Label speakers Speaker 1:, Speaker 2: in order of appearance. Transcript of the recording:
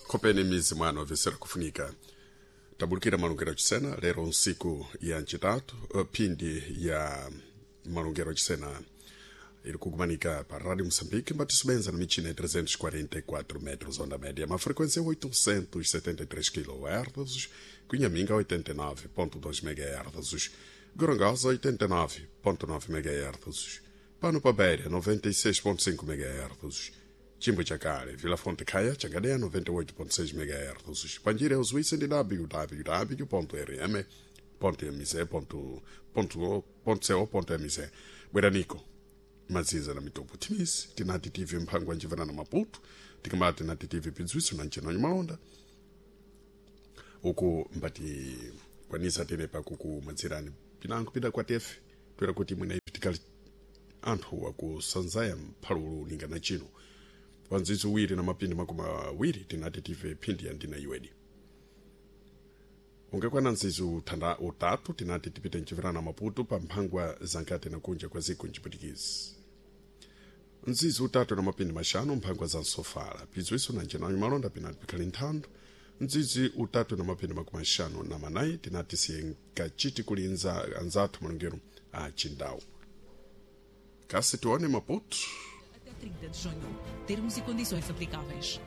Speaker 1: Khopeni mizi mwano vesera kufunika tabulukira malungero achisena lero nsiku ya ncitatu, phindi ya malungero achisena iri kugumanika pa Rádio Moçambique mbatisobenza na michina ya 344 metros onda média, uma frequência 873 kHz, Cunhaminga 89.2 MHz, Gorongosa 89.9 MHz, Pano Pabeira 96.5 MHz, Chimbo Chakale, Vila Fonte Caia, Changadeia 98.6 MHz, Panjira Suíça de www.rm.mz.co.mz. Bweranico maziza na mitopo timisi tinati tv mphango anjivana na Maputo, tikamati tinati tv pidzwiso na nchenonyo malonda uku mbati kwanisa tene pakuku madzirani pinango pida kwa tefe toera kuti mwina ipi tikali anthu akusanzaya mphalulu ningana chino panzizo uwiri na mapindi 20 tinati tive phindi ya ndina iwedi ungakwana nzizo uthanda utatu tinati tipite mchivirana Maputo pa mphangwa zankati na kunja kwa ziko mchiputikizi nzizo utatu na mapindi maxanu mphangwa za nsofala pizwiso na ncenanyo malonda pinati pikhali nthando nzizi utatu na mapindi 54 tinati siyenkachiti kulinza anzathu malungero a chindawu kasi tione Maputo.
Speaker 2: Até 30 de junho. Termos e condições aplicáveis.